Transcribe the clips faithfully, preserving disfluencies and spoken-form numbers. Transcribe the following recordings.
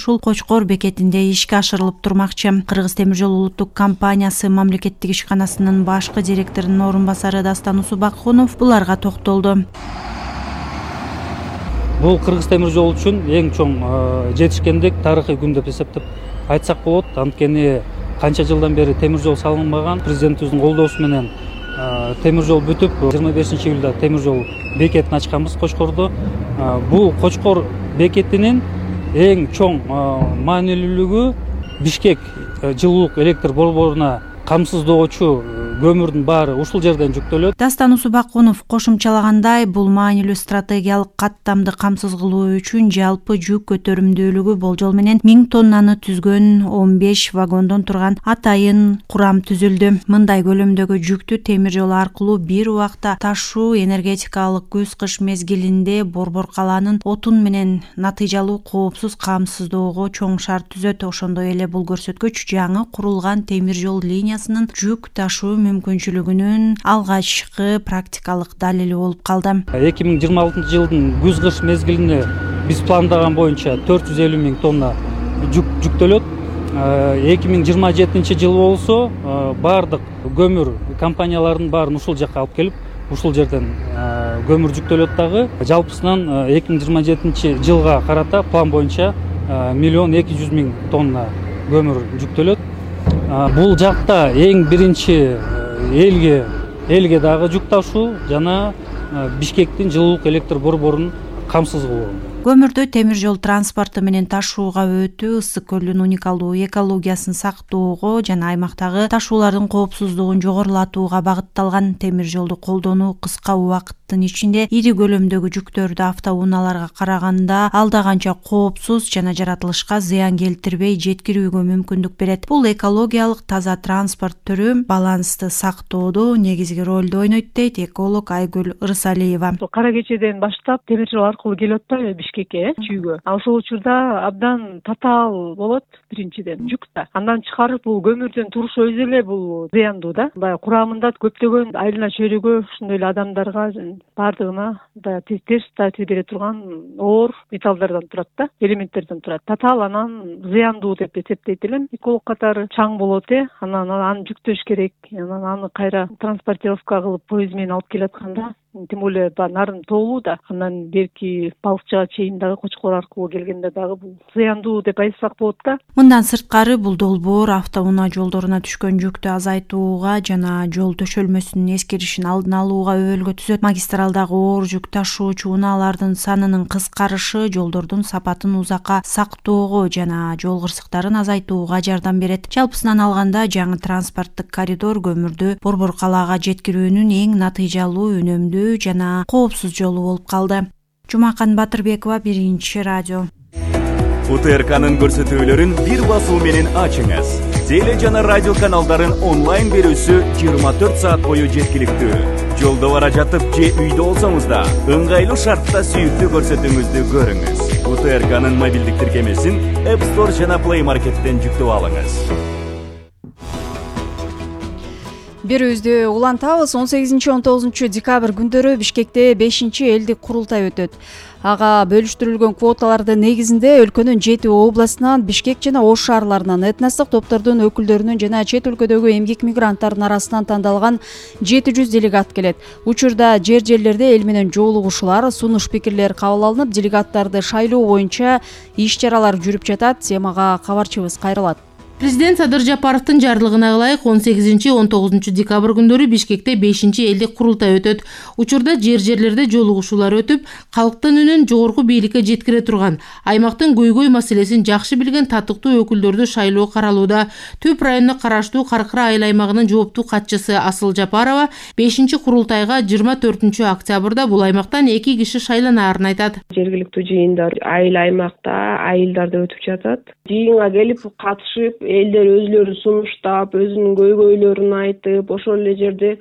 ушул Кочкор бекетинде ишке ашырылып турмакчы. Кыргыз темир жол улуттук компаниясы мамлекеттик ишканасынын башкы директорунун орун басары Дастан Усубакунов буларга токтолду. Бул Кыргыз темир жол үчүн эң чоң жетишкендик, тарыхый күн деп эсептеп айтсак болот. Анткени канча жылдан бери темир жол салынбаган, президентибиздин колдоосу менен темир жол бүтүп, жыйырма бешинчи июлда темир жол бекетин ачканбыз Кочкордо. Бул Кочкор бекетинин эң чоң маанилүүлүгү Бишкек жылуулук электр борборуна камсыздоочу көмүрдүн баары ушул жерден жүктөлөт. Дастан Усубакунов кошумчалагандай, бул маанилүү стратегиялык каттамды камсыз кылуу үчүн жалпы жүк көтөрүмдүүлүгү болжол менен миң тоннаны түзгөн он беш вагондон турган атайын курам түзүлдү. Мындай көлөмдөгү жүктү темир жол аркылуу бир убакта ташуу энергетикалык күз-кыш мезгилинде Борбор калаанын отун менен натыйжалуу коопсуз камсыздоого чоң шарт түзөт. Ошондой эле бул көрсөткүч жаңы курулган темир жол линиясынын жүк ташуу мүмкүнчүлүгүнүн алгачкы практикалык далили болуп калды. эки миң жыйырма алтынчы жылдын күз-кыш мезгилине биз пландаган боюнча төрт жүз элүү миң тонна жүк жүктөлөт. эки миң жыйырма жетинчи жыл болсо баардык көмүр компанияларынын баарын ушул жакка алып келип, ушул жерден көмүр жүктөлөт дагы. Жалпысынан эки миң жыйырма жетинчи жылга карата план боюнча миллион эки жүз миң тонна көмүр жүктөлөт. Бул жакта эң биринчи элге элге дагы жүк ташуу жана Бишкектин жылуулук электр борборунун камсыз кылуу. Көмүрдү темир жол транспорту менен ташууга өтүү Ысык көлдүн уникалдуу экологиясын сактоого жана аймактагы ташуулардын коопсуздугун жогорулатууга багытталган. Темир жолду колдонуу кыска убакыттын ичинде ири көлөмдөгү жүктөрдү автоунааларга караганда алда канча коопсуз жана жаратылышка зыян келтирбей жеткирүүгө мүмкүндүк берет. Бул экологиялык таза транспорт түрү балансты сактоодо негизги ролду ойнойт, дейт эколог Айгүл Ырысалиева. Кара кечеден баштап темир жол аркылуу келип атпайбы Бишкекке чүйгө. Ошол учурда абдан татаал болот биринчиден жүк да. Андан чыгарып бул көмүрдүн турушу өзү эле бул зыяндуу да. Баягы курамында көптөгөн айылына чөйрөгө ошондой эле адамдарга баардыгына баягы терс таасир бере турган оор металлдардан турат да, элементтерден турат. Татаал анан зыяндуу деп эсептейт элем. Эколог катары чаң болот э. Анан аны жүктөш керек. Анан аны кайра транспортировка кылып поезд менен алып келатканда, тем более нарын тоолуу да, андан берки балыкчыга чейин дагы Кочкор аркылуу келгенде дагы бул зыяндуу деп айтсак болот да. Мындан сырткары бул долбоор автоунаа жолдоруна түшкөн жүктү азайтууга жана жол төшөлмөсүнүн эскеришин алдын алууга өбөлгө түзөт. Магистралдагы оор жүк ташуучу унаалардын санынын кыскарышы жолдордун сапатын узакка сактоого жана жол кырсыктарын азайтууга жардам берет. Жалпысынан алганда жаңы транспорттук коридор көмүрдү Борбор калаага жеткирүүнүн эң натыйжалуу, үнөмдүү жана коопсуз жолу болуп калды. Жумакан Батырбекова, Биринчи радио. У Т Р К'нын көрсөтүүлөрүн бир басуу менен ачыңыз. Теле жана радио каналдарын онлайн берүүсү жыйырма төрт саат бою жеткиликтүү. Жолдо бара жатып же үйдө болсоңуз да ыңгайлуу шартта сүйүктүү көрсөтүүңүздү көрүңүз. У Т Р К'нын мобилдик тиркемесин App Store жана Play Market'тен жүктөп алыңыз. Берүүбүздү улантабыз. он сегизинчи он тогузунчу декабрь күндөрү Бишкекте бешинчи элдик курултай өтөт. Ага бөлүштүрүлгөн квоталардын негизинде өлкөнүн жети областынан, Бишкек жана Ош шаарларынан, этностук топтордун өкүлдөрүнүн жана чет өлкөдөгү эмгек мигранттарынын арасынан тандалган жети жүз делегат келет. Учурда жер жерлерде эл менен жолугушуулар, сунуш пикирлер кабыл алынып, делегаттарды шайлоо боюнча иш чаралар жүрүп жатат. Темага кабарчыбыз кайрылат. Президент Садыр Жапаровдун жарлыгына ылайык он сегизинчи он тогузунчу декабрь күндөрү Бишкекте бешинчи элдик курултай өтөт. Учурда жер жерлерде жолугушуулар өтүп, калктын үнүн жогорку бийликке жеткире турган, аймактын көйгөй маселесин жакшы билген татыктуу өкүлдөрдү шайлоо каралууда. Түп районуна караштуу Каркыра айыл аймагынын жооптуу катчысы Асыл Жапарова бешинчи курултайга жыйырма төртүнчү октябрда бул аймактан эки киши шайланаарын айтат. Жергиликтүү жыйындар айыл аймакта, айылдарда өтүп жатат. Жыйынга келип катышып, элдер өзлөрү сунуштап, өзүнүн көйгөйлөрүн айтып, ошол эле жерде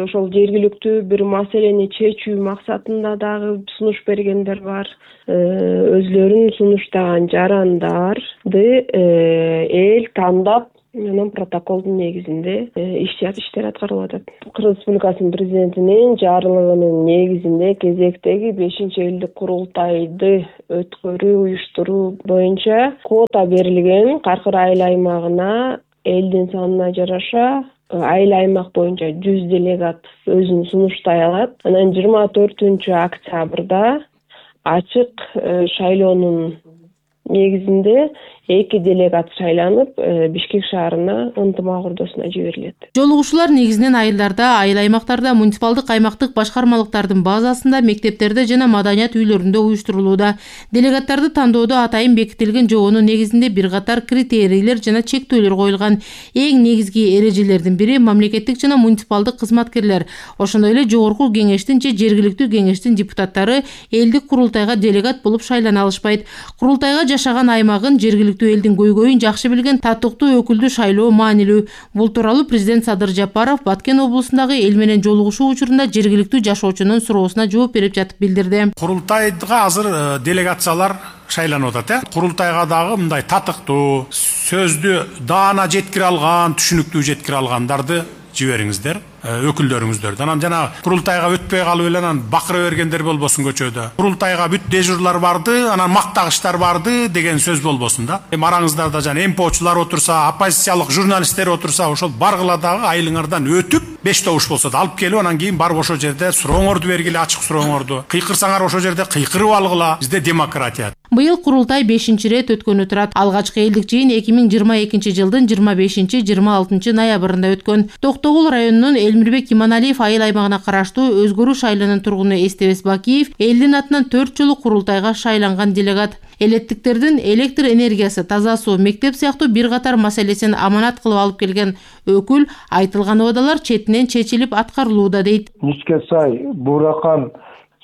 ошол жергиликтүү бир маселени чечүү максатында дагы сунуш бергендер бар. Өзлөрүн сунуштаган жарандарды эл тандап анан протоколдун негизинде иш иштер аткарылып атат. Кыргыз Республикасынын президентинин жарлыгынын негизинде кезектеги бешинчи элдик курултайды өткөрүү уюштуруу боюнча квота берилген. Каркыр айыл аймагына элдин санына жараша айыл аймак боюнча жүз делегат өзүн сунуштай алат. Анан жыйырма төртүнчү октябрда ачык шайлоонун негизинде эки делегат шайланып, Бишкек шаарына ынтымак ордосуна жиберилет. Жолугушуулар негизинен айылдарда, айыл аймактарда, муниципалдык аймактык башкармалыктардын базасында, мектептерде жана маданият үйлөрүндө уюштурулууда. Делегаттарды тандоодо атайын бекитилген жобонун негизинде бир катар критерийлер жана чектөөлөр коюлган. Эң негизги эрежелердин бири мамлекеттик жана муниципалдык кызматкерлер, ошондой эле жогорку кеңештин же жергиликтүү кеңештин депутаттары элдик курултайга делегат болуп шайлана алышпайт. Курултайга жашаган аймагын, жергиликтүү элдин көйгөйүн жакшы билген татыктуу өкүлдү шайлоо маанилүү. Бул тууралуу президент Садыр Жапаров Баткен облусундагы эл менен жолугушуу учурунда жергиликтүү жашоочунун суроосуна жооп берип жатып билдирди. Курултайга азыр делегациялар шайланып атат, э? Курултайга дагы мындай татыктуу, сөздү даана жеткире алган, түшүнүктүү жеткире алгандарды жибериңиздер, өкүлдөрүңүздөрдү. Анан жана курултайга өтпөй калып эле анан бакыра бергендер болбосун көчөдө. Курултайга бүт дежурлар барды, анан мактагычтар барды деген сөз болбосун да. Эми араңыздарда жана эмпочулар отурса, оппозициялык журналисттер отурса, ошол баргыла дагы айылыңардан өтүп, беш добуш болсо да алып келип, анан кийин барып ошол жерде сурооңорду бергиле, ачык сурооңорду. Кыйкырсаңар ошол жерде кыйкырып алгыла. Бизде демократия. Быйыл курултай бешинчи ирет өткөнү турат. Алгачкы элдик жыйын эки миң жыйырма экинчи жылдын жыйырма бешинчи жыйырма алтынчы ноябрында өткөн. Токтогул районунун Элмирбек Иманалиев айыл аймагына караштуу Өзгөрүү шайланын тургуну Эстебес Бакиев элдин атынан төрт жолу курултайга шайланган делегат. Элеттиктердин электр энергиясы, таза суу, мектеп сыяктуу бир катар маселесин аманат кылып алып келген өкүл айтылган убадалар четинен чечилип аткарылууда дейт. Ничке сай Буракан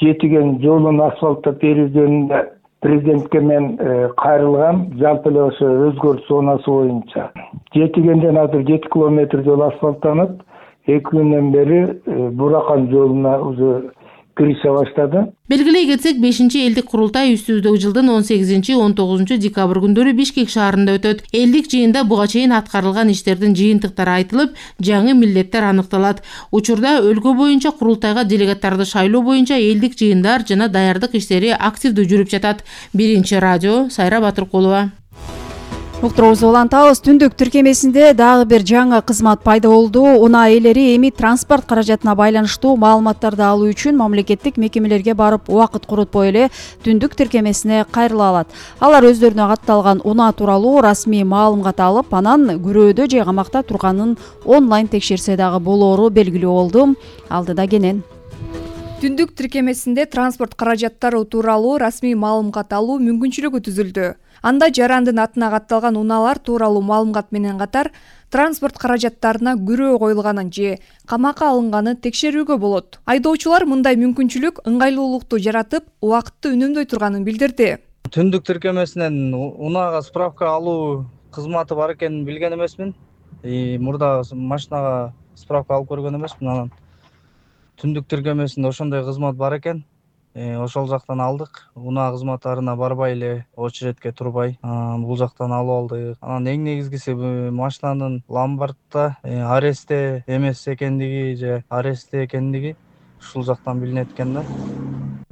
жетиген жолун асфальттап берүүгөнүндө президентке мен кайрылгам. Жалпы эле ошо өзгөрүү зонасы боюнча жетигенден азыр жети километр жол асфальттанып, эки күндөн бери Буракан жолуна уже киреше баштады. Белгилей кетсек, бешинчи элдик курултай үстүздөгү жылдын он сегизинчи он тогузунчу декабрь күндөрү Бишкек шаарында өтөт. Элдик жыйында буга чейин аткарылган иштердин жыйынтыктары айтылып, жаңы милдеттер аныкталат. Учурда өлкө боюнча курултайга делегаттарды шайлоо боюнча элдик жыйындар жана даярдык иштери активдүү жүрүп жатат. Биринчи радио, Сайра Батыркулова. Уктуруубузду улантабыз. Түндүк тиркемесинде дагы бир жаңы кызмат пайда болду. Унаа ээлери эми транспорт каражатына байланыштуу маалыматтарды алуу үчүн мамлекеттик мекемелерге барып убакыт коротпой эле түндүк тиркемесине кайрыла алат. Алар өздөрүнө катталган унаа тууралуу расмий маалымат алып, анан күрөөдө же камакта турганын онлайн текшерсе дагы болоору белгилүү болду. Алдыда кенен. Түндүк тиркемесинде транспорт каражаттары тууралуу расмий маалымат алуу мүмкүнчүлүгү түзүлдү. Анда жарандын атына катталган унаалар тууралуу маалымат менен катар транспорт каражаттарына күрөө коюлганын же камакка алынганы текшерүүгө болот. Айдоочулар мындай мүмкүнчүлүк ыңгайлуулукту жаратып, убакытты үнөмдөй турганын билдирди. Түндүк тиркемесинен унаага справка алуу кызматы бар экенин билген эмесмин. И мурда машинага справка алып көргөн эмесмин. Анан түндүк тиркемесинде ошондой кызмат бар экен. Ошол жактан алдык. Унаа кызматтарына барбай эле очередке турбай бул жактан алып алдык. Анан эң негизгиси машинанын ломбардта арестте эмес экендиги же арестте экендиги ушул жактан билинет экен да.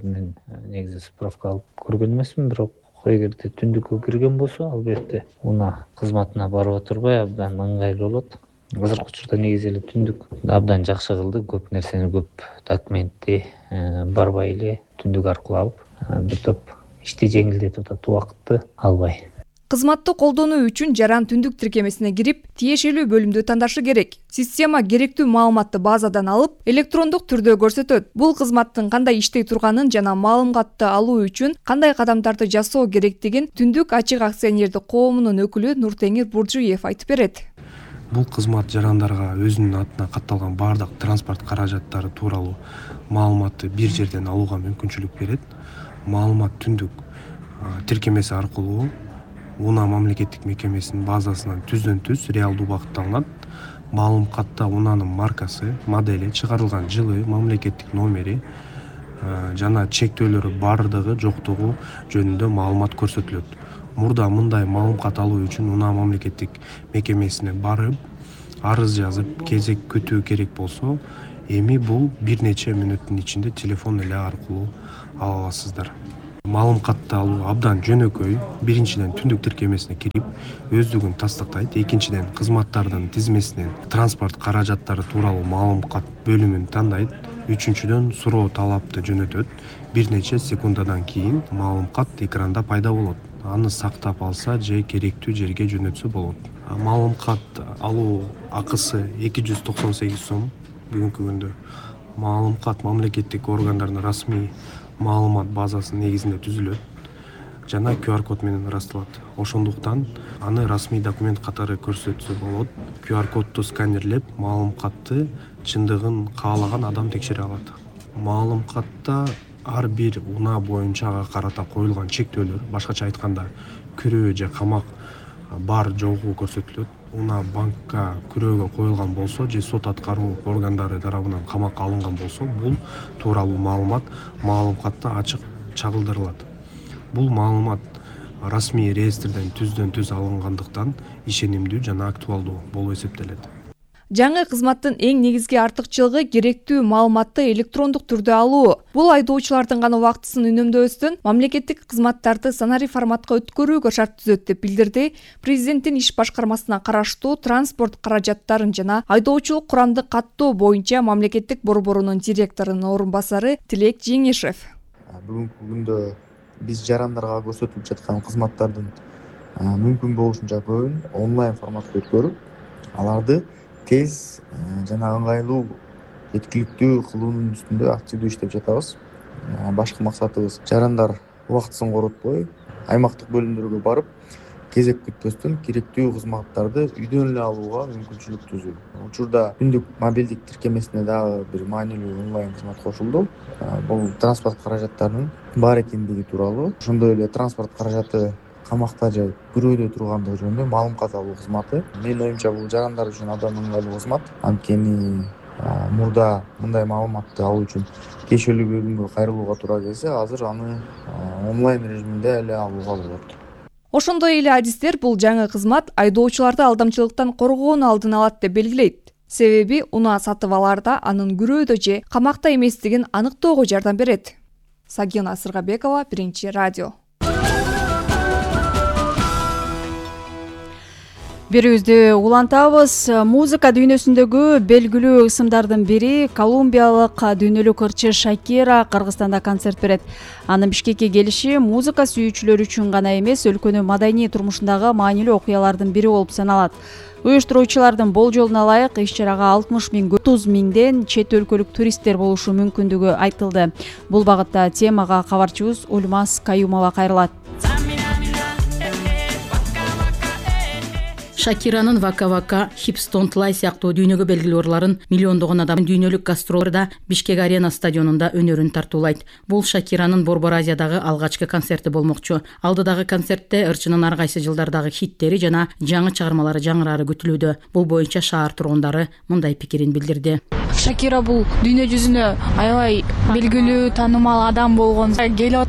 Мен негизи справка алып көргөн эмесмин, бирок эгерде түндүккө кирген болсо, албетте унаа кызматына барып отурбай абдан ыңгайлуу болот. Азыркы учурда негизи эле түндүк абдан жакшы кылды. Көп нерсени, көп документти барбай эле түндүк аркылуу алып, бир топ ишти жеңилдетип атат, убакытты албай. Кызматты колдонуу үчүн жаран түндүк тиркемесине кирип, тиешелүү бөлүмдү тандашы керек. Система керектүү маалыматты базадан алып, электрондук түрдө көрсөтөт. Бул кызматтын кандай иштей турганын жана маалыматты алуу үчүн кандай кадамдарды жасоо керектигин Түндүк ачык акционердик коомунун өкүлү Нуртеңир Буржуев айтып берет. Бул кызмат жарандарга өзүнүн атына катталган бардык транспорт каражаттары тууралуу маалыматты бир жерден алууга мүмкүнчүлүк берет. Маалымат түндүк тиркемеси аркылуу унаа мамлекеттик мекемесинин базасынан түздөн түз реалдуу убакытта алынат. Маалымкатта унаанын маркасы, модели, чыгарылган жылы, мамлекеттик номери жана чектөөлөрү бардыгы жоктугу жөнүндө маалымат көрсөтүлөт. мурда мындай маалымат алуу үчүн унаа мамлекеттик мекемесине барып арыз жазып кезек күтүү керек болсо, эми бул бир нече мүнөттүн ичинде телефон эле аркылуу ала аласыздар. Маалыматты алуу абдан жөнөкөй. Биринчиден түндүк тиркемесине кирип өздүгүн тастыктайт. Экинчиден кызматтардын тизмесинен транспорт каражаттары тууралуу маалымат бөлүмүн тандайт. Үчүнчүдөн суроо талапты жөнөтөт. Бир нече секундадан кийин маалымат экранда пайда болот. Аны сактап алса же керектүү жерге жөнөтсө болот. Маалымат алуу акысы эки жүз токсон сегиз сом бүгүнкү күндө. Маалымат мамлекеттик органдардын расмий маалымат базасынын негизинде түзүлөт жана ку ар код менен ырасталат. Ошондуктан аны расмий документ катары көрсөтсө болот. ку ар кодду сканерлеп, маалыматты чындыгын каалаган адам текшере алат. Маалыматта ар бир унаа боюнча ага карата коюлган чектөөлөр, башкача айтканда, күрөө же камак бар жогу көрсөтүлөт. Унаа банкка күрөөгө коюлган болсо же сот аткаруу органдары тарабынан камакка алынган болсо, бул тууралуу маалымат маалыматта ачык чагылдырылат. Бул маалымат расмий реестрден түздөн түз алынгандыктан ишенимдүү жана актуалдуу болуп эсептелет. Жаңы кызматтын эң негизги артыкчылыгы керектүү маалыматты электрондук түрдө алуу. Бул айдоочулардын гана убактысын үнөмдөбөстөн мамлекеттик кызматтарды санари форматка өткөрүүгө шарт түзөт деп билдирди Президенттин иш башкармасына караштуу транспорт каражаттарын жана айдоочулук курамды каттоо боюнча мамлекеттик борборунун директорунун орун басары Тилек Жеңишев. Бүгүнкү күндө биз жарандарга көрсөтүлүп жаткан кызматтардын мүмкүн болушунча көбүн онлайн форматта өткөрүп, аларды тез жана ыңгайлуу жеткиликтүү кылуунун үстүндө активдүү иштеп жатабыз. Башкы максатыбыз жарандар убактысын коротпой, аймактык бөлүмдөргө барып, кезек күтпөстөн керектүү кызматтарды үйдөн эле алууга мүмкүнчүлүк түзүү. Учурда түндүк мобилдик тиркемесине дагы бир маанилүү онлайн кызмат кошулду. Бул транспорт каражаттарынын бар экендиги тууралуу, ошондой эле транспорт каражаты камакта же күрөөдө тургандыгы жөнүндө маалымат алуу кызматы. Менин оюмча бул жарандар үчүн абдан ыңгайлуу кызмат. Анткени мурда мындай маалыматты алуу үчүн кешелүү бөлүмгө кайрылууга туура келсе, азыр аны онлайн режиминде эле алууга болот. Ошондой эле адистер бул жаңы кызмат айдоочуларды алдамчылыктан коргоонун алдын алат деп белгилейт. Себеби унаа сатып алаарда анын күрөөдө же камакта эместигин аныктоого жардам берет. Сагина Сыргабекова, Биринчи радио. Берүүбүздү улантабыз. Музыка дүйнөсүндөгү белгилүү ысымдардын бири колумбиялык дүйнөлүк ырчы Шакира Кыргызстанда концерт берет. Анын Бишкекке келиши музыка сүйүүчүлөр үчүн гана эмес, өлкөнүн маданий турмушундагы маанилүү окуялардын бири болуп саналат. Уюштуруучулардын болжолуна ылайык иш-чарага алтымыш миң отуз миңден чет өлкөлүк туристтер болушу мүмкүндүгү айтылды. Бул багытта темага кабарчыбыз Ульмас Каюмова кайрылат. Шакиранын Вака Вака, Hips Don't Lie сыяктуу дүйнөгө белгилүү ырларын миллиондогон адам дүйнөлүк гастролдорда Бишкек Арена стадионунда өнөрүн тартуулайт. Бул Шакиранын Борбор Азиядагы алгачкы концерти болмокчу. Алдыдагы концертте ырчынын ар кайсы жылдардагы хиттери жана жаңы чыгармалары жаңырары күтүлүүдө. Бул боюнча шаар тургундары мындай пикирин билдирди. Шакира бул дүйнө жүзүнө аябай белгилүү, таанымал адам болгон. Келип